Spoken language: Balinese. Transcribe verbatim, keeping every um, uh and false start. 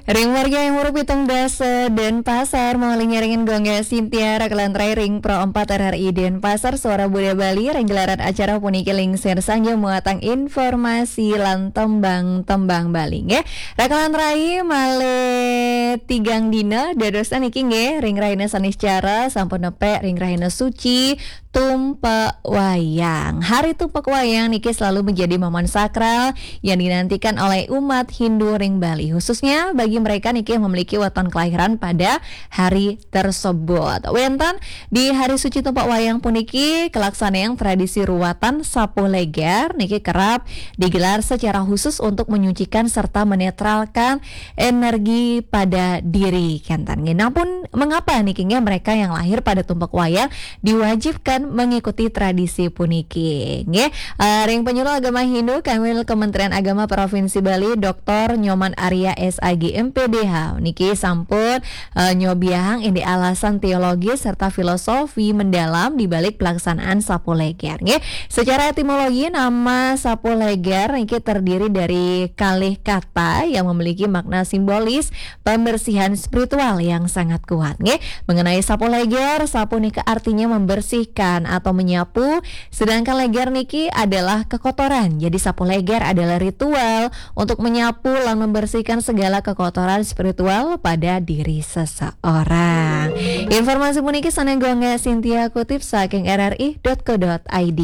Ring warga yang hurup pitung dasa Denpasar, mau linyaringin Gongga Sintia, rakalan terakhir ring Pro empat R R I Denpasar, Suara Budaya Bali, ring gelaran acara puniki lingsir sangja muatan informasi lan tembang-tembang Bali, nggih. Rakalan terakhir malih tigang dina, dadosan niki nggih, ring rahina Saniscara, sampun nepek ring rahina suci, Tumpek Wayang. Hari Tumpek Wayang niki selalu menjadi momen sakral yang dinantikan oleh umat Hindu ring Bali, khususnya bagi mereka niki yang memiliki weton kelahiran pada hari tersebut. Wenten di hari suci Tumpek Wayang puniki, kelaksanaan tradisi ruatan Sapuh Leger niki kerap digelar secara khusus untuk menyucikan serta menetralkan energi pada diri, kenten nggih. Namun, mengapa niki nggih mereka yang lahir pada Tumpek Wayang diwajibkan mengikuti tradisi puniki, nggih? Eh, ring Penyuluh Agama Hindu, Kanwil Kementerian Agama Provinsi Bali, Doktor Nyoman Arya, S A G, M P D H, niki sampun, eh, nyobiahang indik alasan teologis serta filosofi mendalam di balik pelaksanaan Sapuh Leger, nggih. Secara etimologi, nama Sapuh Leger niki terdiri dari kalih kata yang memiliki makna simbolis pembersihan spiritual yang sangat kuat, nggih. Mengenai Sapuh Leger, sapuh niki artinya membersihkan atau menyapu, sedangkan leger niki adalah kekotoran. Jadi, Sapuh Leger adalah ritual untuk menyapu lan membersihkan segala kekotoran spiritual pada diri seseorang. Informasi puniki sané Gongga Sintia kutip saking R R I dot co dot I D.